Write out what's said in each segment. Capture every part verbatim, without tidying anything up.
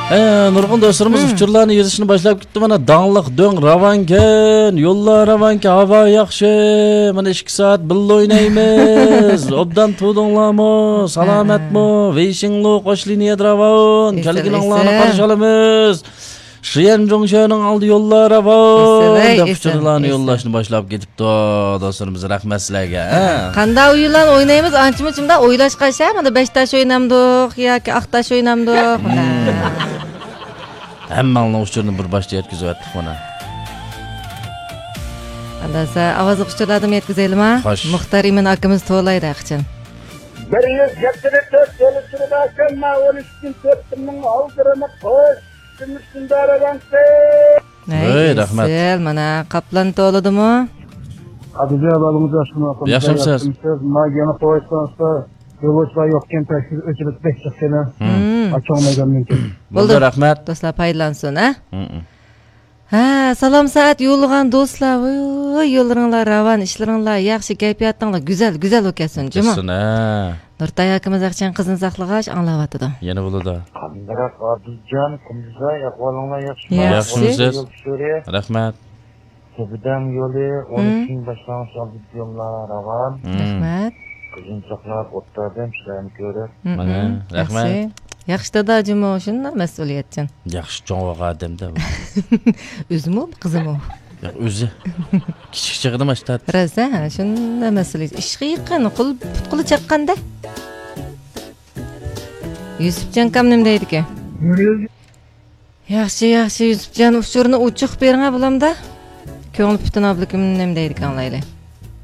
ھە، نۇرغۇن دوستلىرىمىز ئۇچۇرلارنى يېزىشنى باشلاپ كېتىپتۇ. مانا، داڭلىق دۆڭ راۋانكەن، يوللار راۋانكەن، ھاۋا ياخشى. مانا، ئىككى سائەت بىللە ئوينايمىز. ئوبدان تۇردۇڭلارمۇ؟ سالامەتمۇ؟ ۋېيشىڭلۇ قوش لىنىيەدە راۋان. كەلگىنىڭلارنى قارشى ئالىمىز. شيەنجۇڭشۆنىڭ ئالدى يوللار راۋان، دەپ ئۇچۇرلارنى يوللاشنى باشلاپ كېتىپتۇ. دوستلىرىمىز، رەھمەت سىلەرگە. ھە. قانداق ئويۇنلارنى ئوينايمىز؟ ئانچە-مۇنچە مۇنداق ئويلاشقاچە، مانا بەش تاش ئوينامدۇق ياكى ئاق تاش ئوينامدۇق؟ ھەممەڭلارنىڭ ئۇچۇرىنى بىر باشتا يەتكۈزۈۋەتتۇق مانا. ئاندىن ئاۋازلىق ئۇچۇرلاردىمۇ يەتكۈزەيلىما؟ خوش. مۇختەر ئىمىن ئاكىمىز توۋلايدۇ ھەقىچان. بىر يۈز يەتتە تۆت يىل ئىچىدە ئەكەلمە، ئون ئىككى كۈن تۆت كۈننىڭ ئالدىرىنى قوش. كۈمۈش كۈندە رەۋەنسى. ھەي، ھەي، رەھمەت. ئېسىل، مانا، قاپلان تولىدىمۇ؟ ئادىلجان، ئەھۋالىڭىز ياخشىمۇ؟ ياخشىمۇسىز؟ ياخشىمۇسىز؟ ما يەنە قويسىڭىز، يولۇچىلار يوقكەن، تەكشى ئۆچۈرۈپ بەك جىقكەن. ھە. مم. ئاچچىق مەيداندىن كېيىن. بولدى، بولدى، رەھمەت. دوستلار پايدىلانسۇن، ھە؟ مم. ھە، سالام سائەت يوللىغان دوستلار، ۋوي، يوللىرىڭلار راۋان، ئىشلىرىڭلار ياخشى، كەيپىياتىڭلار گۈزەل، گۈزەل بولۇپ كەتسۇن، جۇمۇ. كەتسۇن، ھە. نۇرتاي ئاكىمىز ئاقچان قىزنى ساقلىغاچ ئاڭلاۋاتىدۇ. يەنە بولىدۇ. قانداق ئادىلجان، قۇمزاي، ئەھۋالىڭلار ياخشىمۇ؟ ياخشى. ياخشىمۇسىز؟ يول ئۇچۇرى. رەھمەت. تۆبىدەم يولى، مم. ئون ئۈچىنچى باشلانغۇچ ئالدىدىكى يوللار راۋان. مم. رەھمەت. قىزىنى ساقلاپ ئولتۇردۇم، سىلەرنى كۆرۈپ. مم، مانا، مم. رەھمەت. ياخشى. ياخشى دادا جۇمۇ، شۇنداق مەسئۇلىيەتچان. ياخشى چوڭ بولغان ئادەمدە بۇ. ئۆزىمۇ، قىزىمۇ؟ ياق، ئۆزى. كىچىك چېغىدا ماشتات. راست، ھە، شۇنداق مەسئۇلىيەت. ئىشقا يېقىن، قول، پۇت قولى چاققاندا. يۈسۈپجان ئاكام نېمە دەيدىكەن؟ ياخشى، ياخشى، يۈسۈپجان، ئۇچۇرنى ئوچۇق بېرىڭە بولامدا. كۆڭلى پۈتۈن ئابلىكىم نېمە دەيدىكەن ئاڭلايلى.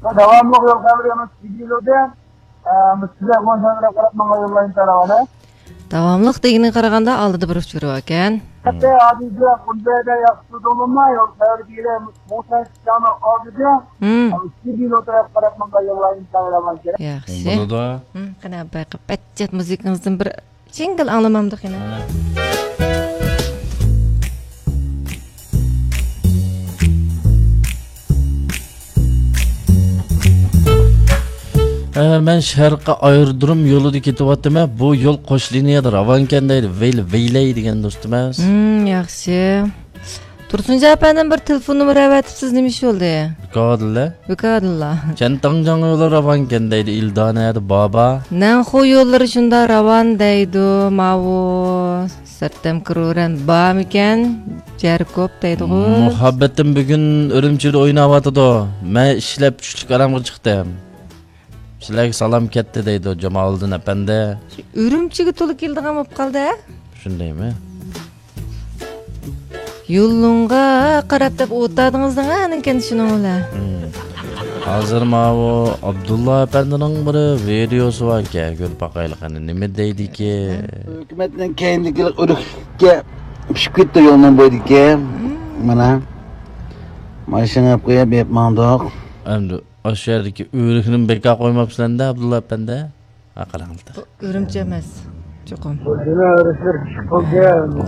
داۋاملىق يول خەۋىرى ئەمەس، ۋىدېئولىدى. ئە، بىز سىلەر بولسىڭىز قاراپ ماڭا يوللايمىز تاراۋانى. داۋاملىق دېگىنىگە قارىغاندا ئالدىدا بىر ئۇچۇر باركەن. ھەتتا ھازىردا قۇنزەيدە ياخشى تۇردۇڭلارمۇ؟ يول خەۋىرى دېگىلى موسا شىشاڭنىڭ ئالدىدا. ھىم. ۋىدېئو تەرەپ قاراپ ماڭا يوللايمىز تاراۋان كېرەك. ياخشى. بولىدۇ. ھىم، قېنى، بايقاپ، بەتجەت مۇزىكىڭىزدىن بىر جىڭگىل ئاڭلىمامدۇق يەنە؟ ھە، مەن شەرقىي ئايرودروم يولىدا كېتىۋاتىمەن. بۇ يول قوش لىنىيەدە راۋانكەن دەيدۇ. ۋەيلى، ۋەيلەي دېگەن دوستۇم ئەمەس. ھىم، ياخشى. تۇرسۇنجان ئەپەندىم بىر تېلېفون نومۇرى ئەۋەتىپسىز، نېمە ئىش بولدى؟ بىكاردىلا. بىكاردىلا. چەنتاڭجاڭ يولى راۋانكەن دەيدۇ، ئىلدانە دە بابا. نەنخۇ يوللىرى شۇنداق راۋان دەيدۇ، ماۋۇ سەرتەم كرورەن بارمىكەن؟ جەركوب دەيدىغۇ. مۇھەببىتىم بۈگۈن ئۈرۈمچىدە ئويناۋاتىدۇ. مەن ئىشلەپ چۈشلۈك ئارامغا چىقتىم. سىلەرگە سالام كەتتى دەيدۇ جامالىدىن ئەپەندى. ئۈرۈمچىگە تولا كېلىدىغان بولۇپ قالدى ھە؟ شۇندايمۇ؟ يولۇڭغا قاراپ دەپ ئولتۇردىڭىز دەڭە، ئانىڭكەن شۇنىڭ بىلەن. ھازىر ماۋۇ ئابدۇللا ئەپەندىنىڭ بىر ۋىدېئوسى باركەن، كۆرۈپ باقايلى قېنى، نېمە دەيدىكى؟ ھۆكۈمەتنىڭ كەينىدىكى ئۆرۈككە پىشىپ كەتتى يولنىڭ بويىدىكى. مانا. ماشىنا ئېلىپ قويۇپ، بېرىپ ماڭدۇق. ئەمدى ئاشۇ يەردىكى ئۆرۈكنىمۇ بىكار قويماپسىلەر-دە، ئابدۇللا ئەپەندى. ھە، قاراڭلار. بۇ ئۈرۈمچى ئەمەس، چوقۇم.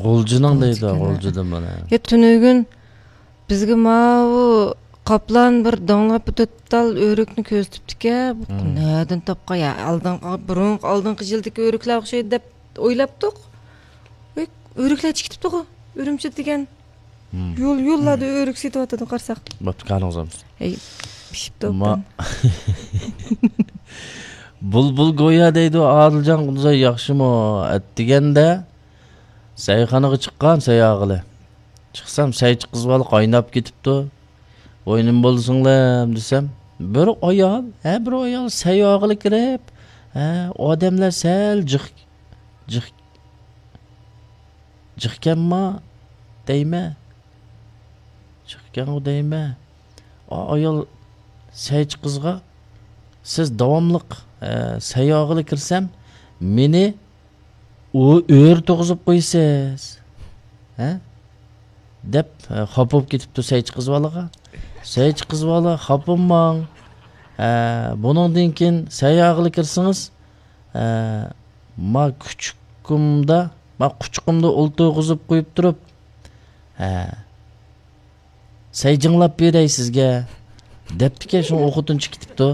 غۇلجىنىڭ دەيدۇ، غۇلجىدىن مانا. يا، تۈنۈگۈن بىزگە ماۋۇ قاپلان بىر داڭلاپ بىر تۆت تال ئۆرۈكنى كۆرسىتىپتىكەن. بۇ نەدىن تاپقان؟ يا، ئالدىنقى، بۇرۇنقى، ئالدىنقى يىلدىكى ئۆرۈكلەر ئوخشايدۇ دەپ ئويلاپتۇق. ئۆي، ئۆرۈكلەر چىقىپ كېتىپتىغۇ، ئۈرۈمچى دېگەن. يول، يوللاردا ئۆرۈك سېتىۋاتىدۇ، قارىساق. بوپتۇ، كانىڭىز ئالمىسۇن. ھەي، پىشىپتۇ. بۇلبۇل گويا دەيدۇ، ئادىلجان قۇدۇزاي ياخشىمۇ؟ ئەتىگەندە سەيخانىغا چىققان سەي ئاغىلى. چىقسام، سەيچى قىز بالا قايناپ كېتىپتۇ. ۋوي، نېمە بولدى سىڭلىم دېسەم، بىر ئايال، ھە، بىر ئايال سەي ئاغىلى كىرىپ، ھە، ئادەملەر سەل جىق، جىق، جىقكەنما دەيمەن. جىقكەنغۇ دەيمەن. ئا-، ئايال سەيچى قىزغا، سىز داۋاملىق، ئە، سەي ئاغىلى كىرسەم، مېنى ئۇ ئۆرە تۇغۇزۇپ قويىسىز. ھە؟ دەپ، ئە، خاپا بولۇپ كېتىپتۇ سەيچى قىز بالىغا. سەيچى قىز بالا، خاپا بولماڭ. ئە، بۇنىڭدىن كېيىن سەي ئاغىلى كىرسىڭىز، ئە، ما كۇچۇكۇمدا، ما قۇچىقىمدا ئولتۇرغۇزۇپ قويۇپ تۇرۇپ، ھە، سەي جىڭلاپ بېرەي سىزگە، دەپتىكەن، شۇڭا ئۇ خوتۇنچە كېتىپتۇ.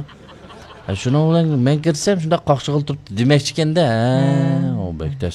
ھە، شۇنىڭ بىلەن مەن كىرسەم، شۇنداق قاقشىغىلى تۇرۇپتۇ دېمەكچىكەن-دە، ھە، ئۇ بەك تەس.